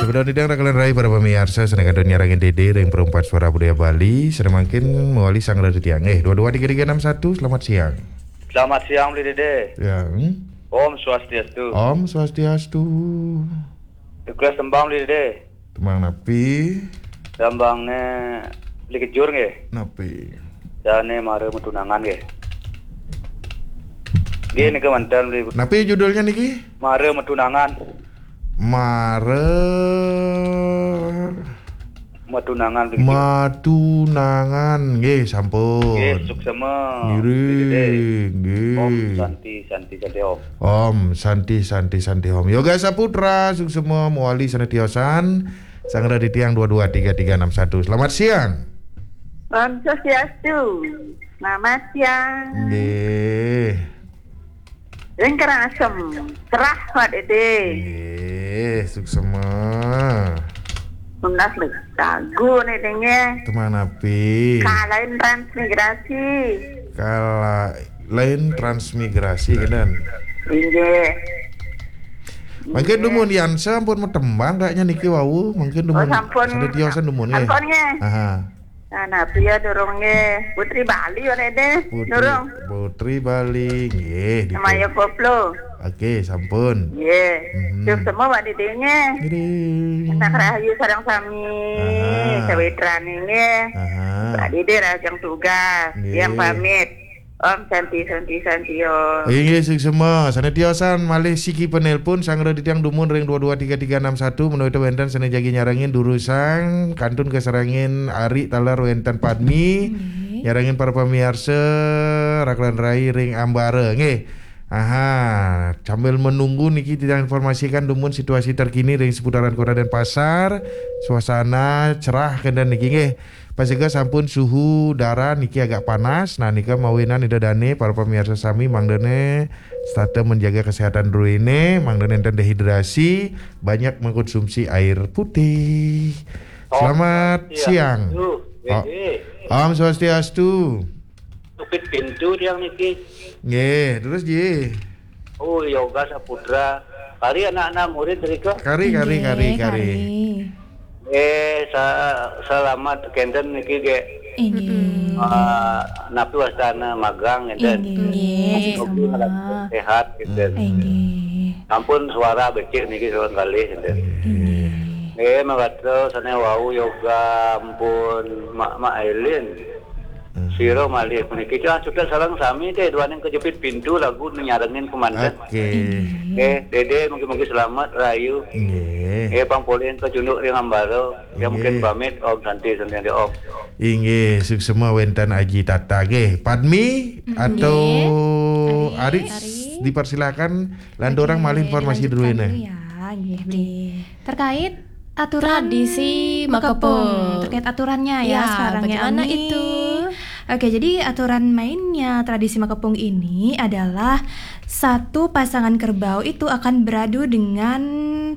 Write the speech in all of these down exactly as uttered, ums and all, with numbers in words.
Udah nidang rakalan rai para pamiarsa, sané kantun nyarengin Dédé ring Perempat Suara Budaya Bali, sané mangkin mawali sanggra titiang. Eh, dua dua tiga tiga enam satu, selamat siang. Selamat siang, Beli Dédé. Ya, hmm? Om Swastiastu. Om Swastiastu. Request tembang, Beli Dédé. Tembang napi? Tembangné Beli Kejur nggih. Napi? Dané Mara Matunangan nggih. Nggih, nika manten, Beli. Napi judulnya niki? Mara Matunangan. Mara Matunangan, Beli Kejur. Matunangan. Nggih, sampun. Nggih, suksema. Ngiring, nggih. Om Santi, Santi, Santi Om. Om Santi, Santi, Santi Om. Yoga Saputra, suksema, mawali sané tiosan. Sanggra titiang dua dua tiga tiga enam satu. Selamat siang. Om Swastiastu. Selamat siang. Nggih. Ring Karangasem. Cerah, Pak Dédé. Nggih, suksema. Tunas lagu né dengé. Tembang napi? Kalain transmigrasi. Kalain transmigrasi, kénten. Inggih. Mangkin dumun yan sampun matembang kayaknya niki wau, mangkin dumun. Oh, sampun. Sané tiosan dumun nggih. Sampun nggih. Aha. Nah, napi ya durung nggih. Putri Bali, Pak Dédé. Putri, durung. Putri Bali nggih, di Maya Koplo. Oke, sampun. Nggih. Mhm. Suksema, Pak Dédé nggih. Ngiring. Anak rahayu sareng sami. Aha. Sawitrané nggih. Aha. Pak Dédé rahajeng tugas. Nggih. Tiang pamit. Om Santi, Santi, Santi, Om. Inggih, suksema. Sané tiosan malih siki penelpon, sanggra titiang dumun ring dua dua tiga tiga enam satu, menawi wénten sané jagi nyarengin durusang, kantun kasarengin ari taler wénten Padmi, nggih, nyarengin para pamiarsa, rakalan rai ring ambara. Nggih. Aha, sambil menunggu niki titiang informasikan dumun situasi terkini ring seputaran Kota Denpasar. Suasana cerah kénten niki nggih. Pastika sampun suhu udara niki agak panas. Nah, nika mawinan Ida Dané, para pamiarsa sami, mangdané setata menjaga kesehatan druéné, mangdané nénten dehidrasi, banyak mengkonsumsi air putih. Om Selamat siang. Swastiastu, Oh, Dédé. Om Swastiastu. Jepit pintu tiang niki. Nggih, terus, Ji? Oh, Yoga Saputra. Kari anak-anak murid rika? Kari, kari, inggih, kari, kari. Kari. Eh, sa-, selamat kénten niki, Gé. Inggih. Mm-mm. Ah, napi wastana magang kénten. Inggih, inggih, sama. Mugi sehat kénten. Inggih. Ampun suara becik niki sawan kalih kénten. Inggih. Nggih, mangga sané wau Yoga ampun Mak, Mak Elin. Hmm. Sira malih puniki. Cah, suksma sareng sami téh, duaning kejepit pintu lagu nyarengin kemanten. Oke. Inggih. Nggih, Dédé mugi-mugi selamat rahayu. Nggih. Nggih, pang polih kacunduk ring ambara. Ya, nggih, mungkin pamit, Om Santi, Santi, Santi, Om. Inggih, suksma wénten Aji Tata nggih. Padmi, mm-mm, atau, nggih, Aris, Aris, dipersilakan, lanturang malih informasi dulu, dilanjutkan dulu ya, nggih, Bli. Terkait aturan tradisi makepung. Makepung. Terkait aturannya ya, ya, sekarang ya, bagaimana Ami? Itu? Oke, jadi aturan mainnya tradisi makepung ini adalah satu pasangan kerbau itu akan beradu dengan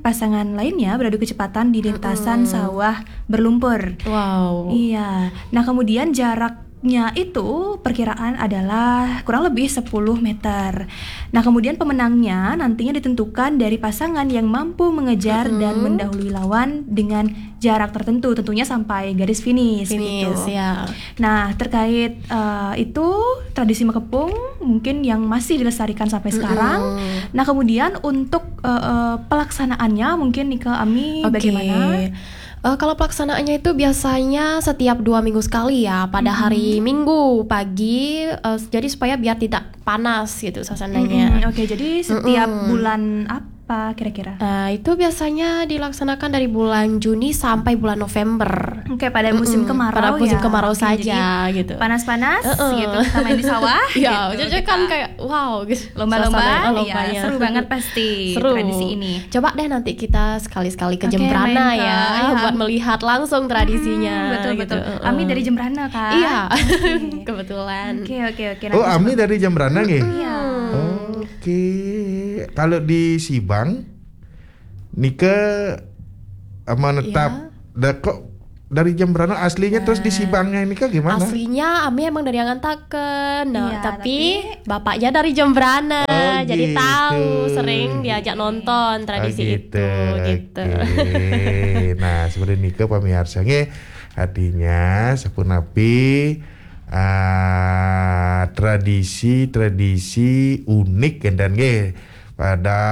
pasangan lainnya, beradu kecepatan di lintasan, mm-mm, sawah berlumpur. Wow. Iya. Nah, kemudian jarak nya itu perkiraan adalah kurang lebih sepuluh meter. Nah, kemudian pemenangnya nantinya ditentukan dari pasangan yang mampu mengejar, mm-mm, dan mendahului lawan dengan jarak tertentu, tentunya sampai garis finish, finish, gitu. Ya. Nah, terkait, eh, itu tradisi makepung mungkin yang masih dilestarikan sampai, mm-mm, sekarang. Nah, kemudian untuk, eh, eh, pelaksanaannya mungkin nih ke Ami, oke, bagaimana? Eh, kalau pelaksanaannya itu biasanya setiap dua minggu sekali ya, pada, mm-mm, hari Minggu pagi, eh, jadi supaya biar tidak panas gitu suasananya. Mm-mm, oke, jadi setiap, mm-mm, bulan apa kira-kira? Eh, itu biasanya dilaksanakan dari bulan Juni sampai bulan November. Oke, pada musim, mm-mm, Kemarau pada musim ya? Kemarau, oke, saja, jadi gitu. Panas-panas, mm-mm, gitu, kita main di sawah, ya, gitu, jadi kita kan kayak, wow, gitu. Lomba-lomba, suasana, oh, iya, lombanya, seru banget pasti, seru, tradisi ini. Coba deh nanti kita sekali-sekali ke, oke, Jembrana, main ke, ya, ya, buat melihat langsung tradisinya, mm-mm, betul, gitu. Betul. Heeh. Ami dari Jembrana, kan? Iya. Oke. Kebetulan. Oke, oke, oke. Oh, nanti Ami coba dari Jembrana nggih? Iya. Oke. Kalau di Sibang, nika menetap, iya, da-, kok dari Jembrana aslinya, terus di, nah, Sibangnya ini kan gimana? Aslinya Ami emang dari Angantaken. Nah, iya, tapi, tapi bapaknya dari Jembrana. Oh, Jadi tahu, sering diajak nonton tradisi itu, gitu. Oke. Nah, seperti nika pamiarsa nggih. Artinya sapunapi ah, tradisi-tradisi unik kenten nggih pada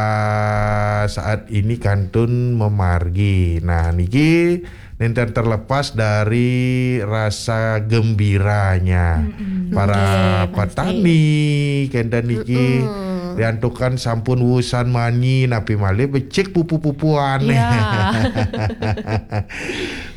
saat ini kantun memargi. Nah, niki nenten terlepas dari rasa gembiranya para petani kenten niki diantukan sampun wusan manyi napi malih becik pupu-pupuane.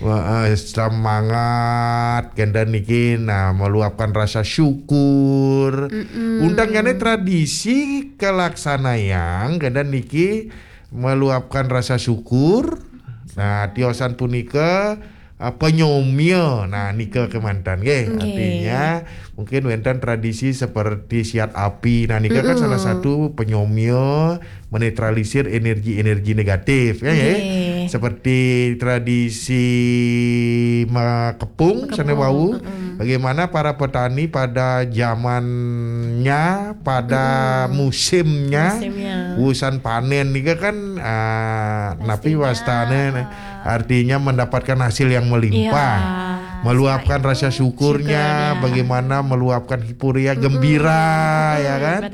Wah, semangat kenten niki, nah, meluapkan rasa syukur. Undang tradisi kalaksanayang kenten niki meluapkan rasa syukur. Nah, tiosan punika ah, penyomia. Nah, nika kemantan nggih. Artinya mungkin wenten tradisi seperti siat api. Nah, nika kan salah satu penyomia menetralisir energi-energi negatif ya, ya. Seperti tradisi makepung sana wau. Bagaimana para petani pada zamannya, pada musimnya, musimnya, wusan panen nika kan ah, napi wastane, artinya mendapatkan hasil yang melimpah. Meluapkan rasa syukurnya, bagaimana meluapkan hipuria gembira, ya kan?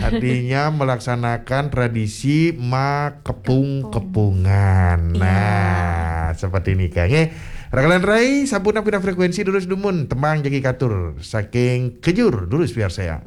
Artinya melaksanakan tradisi makepung-kepungan. Nah, seperti ini kan. Nggih. Rakalan rai, sampun napi frekuensi durus dumun, tembang jagi katur saking kejur durus biar sayang.